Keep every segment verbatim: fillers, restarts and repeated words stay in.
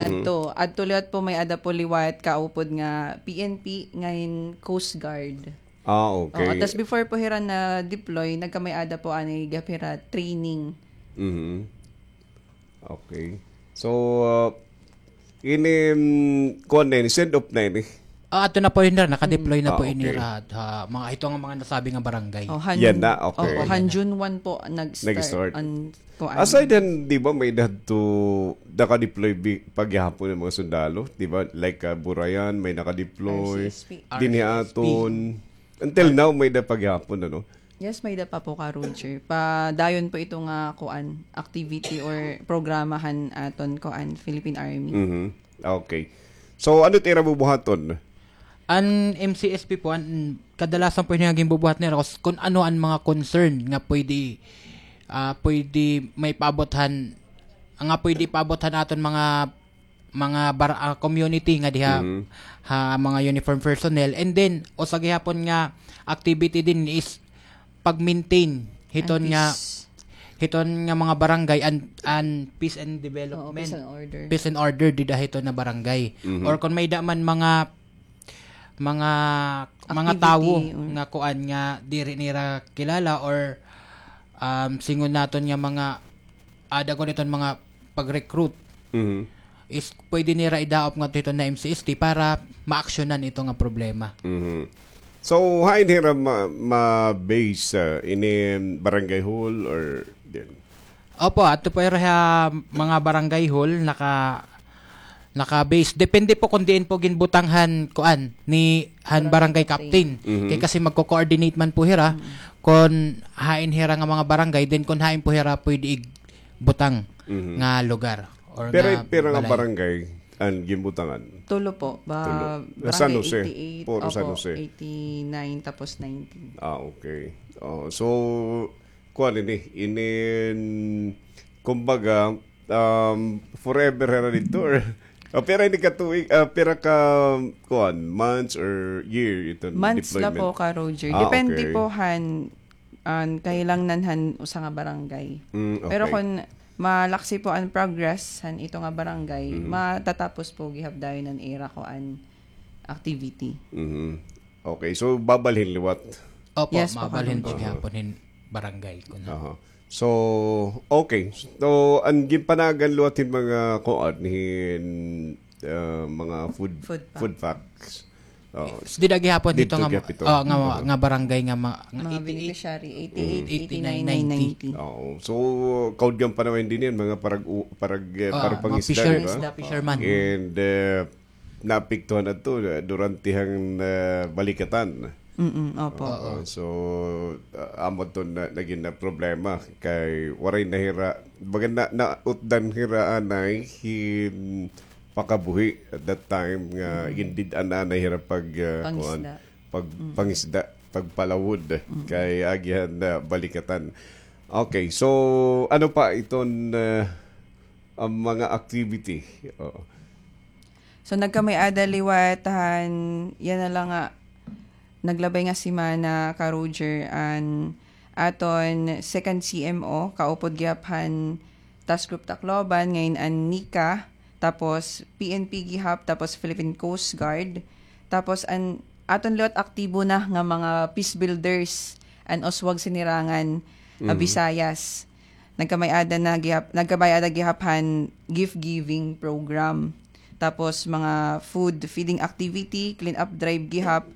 Ito, adto liwat po may-ada po liwat kaupod nga P N P, ngayon Coast Guard. Ah, okay. Oo, tas before po hira na-deploy, nagkamay-ada po anay gihap hira training. Mhm. Okay. So, ah, ini, mm, kuan na ini, send off na ini. Ah, ato na po ini, naka-deploy na po ini ra ha mga, ito nga mga nasabi nga barangay. Oh, han, Yan na, okay. Oo, han June one po nag-start. Nag-start. An, kuan. Aside han, di ba, may-ada hadto naka-deploy bi-, paghihapon nga mga sundalo, di ba? Like, ah, Burayan, may naka-deploy. R C S P. Dinhi aton. Until now, may-ada paghihapon, ano? Yes, may-ada pa po ka, Roger. Padayon po ito nga kuan, activity or programa han aton kuan, Philippine Army. Mhm. Okay. So, ano it ira bubuhaton? An M C S P po, an kadalasan po nga ginbubuhat nira, kus-, kun ano an mga concern nga pwede, ah, pwede maipaabot han, nga pwede ipaabot han aton mga mga bar-, ah, community nga diha ha mga uniform personnel. And then, usa gihapon nga activity din is pag-maintain hiton nga, hiton nga mga barangay and, and peace and development. Oo, peace and order. Peace and order dida hiton nga barangay. Or kung may-ada man mga mga, mga tawo nga kuan nga diri nira kilala or, um, singon naton nga mga, ah, dagko niton mga pag-recruit, is pwede nira idaop ngadto hiton nga M C S T para maaksyonan ito nga problema. Mhm. So, hain hira ma-, ma-base, ah, ini barangay hall or din? Opo, adto po hira ha mga barangay hall, naka-, naka-base. Depende po kung diin po ginbutang han, kuan, ni, han barangay captain. Kay kasi magko-coordinate man po hira kung hain hira nga mga barangay, then kung hain po hira pwede igbutang nga lugar or nga balay. Pira nga barangay an ginbutangan? Tulo po. Ba-, Tulo. Barangay San Jose. Eighty-eight, Puro San Jose. Eighty-nine, tapos nineteen. Ah, okay. Oh, so, kuan ini, inin, kumbaga, um, forever hira didto, or, ah, pira ini ka tuig, ah, pira ka, kuan, months or year iton deployment? Months la po ka, Roger. Ah, okay. Depende po han, an kahilangan han usa nga barangay. Mm, okay. Pero kon malaksi po an progress han ito nga barangay, matatapos po gihap dayon an ira kuan activity. Mhm. Okay, so babalhin liwat? Opo, yes po, mabalhin po gihapon hin barangay kuno. Aha. So, okay. So, an ginpanagan liwat hin mga kuan hin, ah, mga food, food packs. Oo. Dida gihapon hito nga, nga barangay nga mga beneficiary, eighty-eight, eighty-nine, ninety. Oo. So, kaudyan pa naman din yan, mga parag-, parag-, eh, para pangisda, di ba? Fisherman. And, eh, naapektuhan adto, eh, durante han, eh, balikatan. Mm, opo. Oo, so, ah, amo adto na, nagin na problema kay waray na hira, baga na, nautdan hira anay hin pakabuhi at that time nga gindid-an anay hira pag, ah, kuan, pag pangisda, pagpalawod kay agihan na balikatan. Okay, so ano pa iton, ah, ang mga activity? Oo. So, nagkamay-ada liwat han, yana la nga, naglabay nga semana ka Roger an aton second C M O, kaupod gihap han Task Group Tacloban, ngayon an NICA, tapos P N P gihap, tapos Philippine Coast Guard, tapos an aton liwat aktibo na nga mga peace builders, an Oswag Sinirangan, ah, Visayas. Nagkamay-ada na gihap, nagkamay-ada gihap han gift giving program. Tapos mga food feeding activity, clean up drive gihap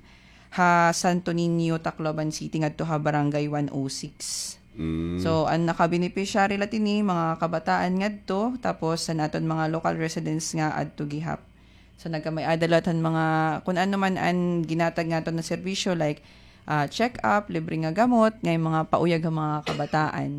ha Santo Niño, Tacloban City, ngadto ha Barangay one oh six. Mm. So, an nakabeneficiary la tini, mga kabataan ngadto, tapos an aton mga local residents nga adto gihap. So, nagkamay-ada liwat han mga, kun ano man an ginhatag naton nga serbisyo, like, ah, check-up, libre nga gamot, ngay mga pauyag han mga kabataan.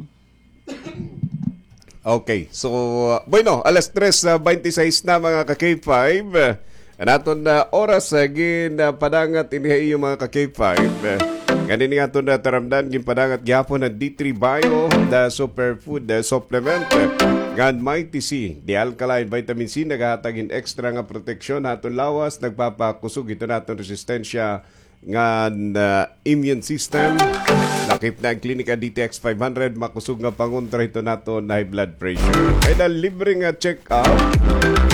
Okay. So, uh, bueno, alas tres, uh, baynte sais na, mga ka-K five. Uh, an aton, uh, oras, uh, gin, uh, padangat ini ha iyo, mga ka-K five. Uh, ngan ini aton, uh, taramdan, ginpadangat gihapon han D three Bio, the superfood, uh, supplement, uh, ngan Mighty C, the alkaline vitamin C, nagahatag hin extra nga proteksyon ha aton lawas, nagpapakusog hiton aton resistensya ngan, ah, immune system. Lakip na an Klinika D T X five hundred, makusog nga pangontra hiton aton high blood pressure. Kay na libre nga check-up,